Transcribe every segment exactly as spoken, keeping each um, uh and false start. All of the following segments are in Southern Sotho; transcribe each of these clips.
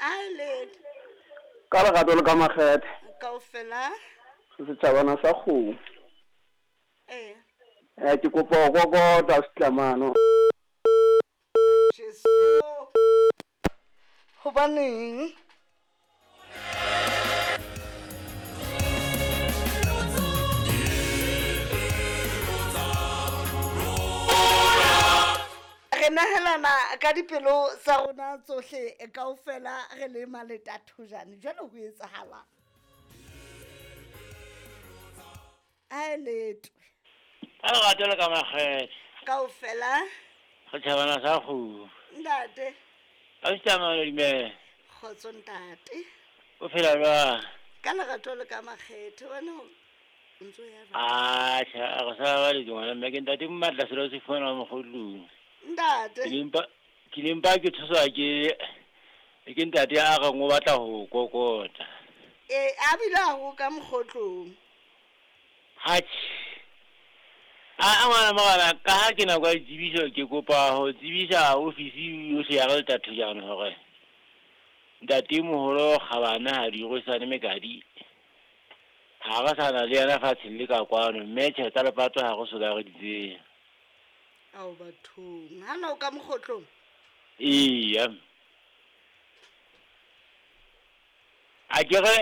A le Ka lerato le ka makgethe. Kaofela. Setjhabana sa kgomo. Eh. Eh ke kopa ho kokota setlamano. Jesu. Hobaneng? Re nahelana ka dipelo tsa rona tsohle kaofela re le Maletathojane. Jwale ho etsahalang? A letwe. Ka lerato le ka makgethe. Kaofela. Setjhabana sa kgomo. Ntate. Ausi dumela. Kgotso ntate. O phela jwang? Ka lerato le ka makgethe wena o ntso ya jwang? Atjha, re sa ba le ngwana mme ke ntate Mmatla selo se fumana mokgotlong. Ntate. Ke lempa ke lempa ke thuswa ke ke ntate a reng o batla ho kokota. Eh a bile a ho ka mokgotlong. Atjhe. A ngwana morena ka ha ke nako ya ditsebiso ke kopa ho tsebisa ofisi yohle ya Letathojane hore ntate moholo Kgabane ha di rwesane mekadi. Ha re sa na le yena fatsheng le ka kwano mme tjhe tsa lepato ha re so ka re di tseba. Ao bathong, ha na o ka mokgotlong? Eya. A ke re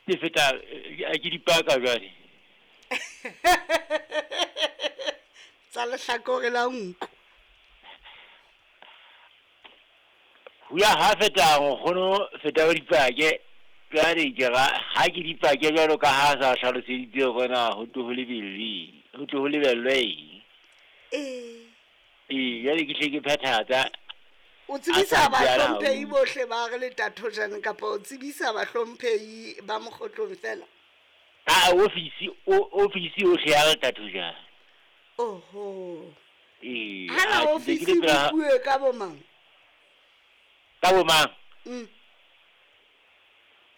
ke feta ke dipaka jwale. Tsa lehlakore la nku. Ho ya ha feta nkgono feta o dipake jwale ke ra ha ke dipake jwalo ka ha sa hlaloseditse hore na ho tlo ho lebellwe ho tlo ho lebellwe eng. Eh. Eh jwale ke hle ke phethatsa. O tsebisa bahlomphehi bohle ba re Letathojane kapa o tsebisa bahlomphehi ba mokgotlong fela? A ofisi o ofisi yohle ya Letathojane. Oho. Eh. Ha na ofisi bue ka bo mang? Ka bo mang? Mm.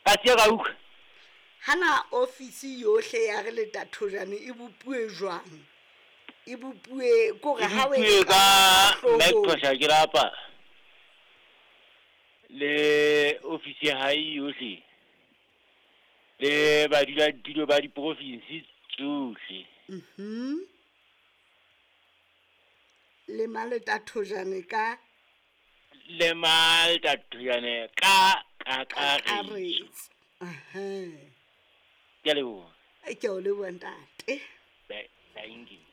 Ka tse ka utlwa. Ha na ofisi yohle ya re Letathojane e bopuwe jwang? E bopuwe kore ha o e ka Mekosha ke rapa. Le ofisi ya hae yohle. Le badula dilo ba diprovinsi tsohle. Mhm. Le Maletathojane ka le Maletathojane ka kakaretso. Aha. Ke a leboha. Ke a leboha ntate. Thank you.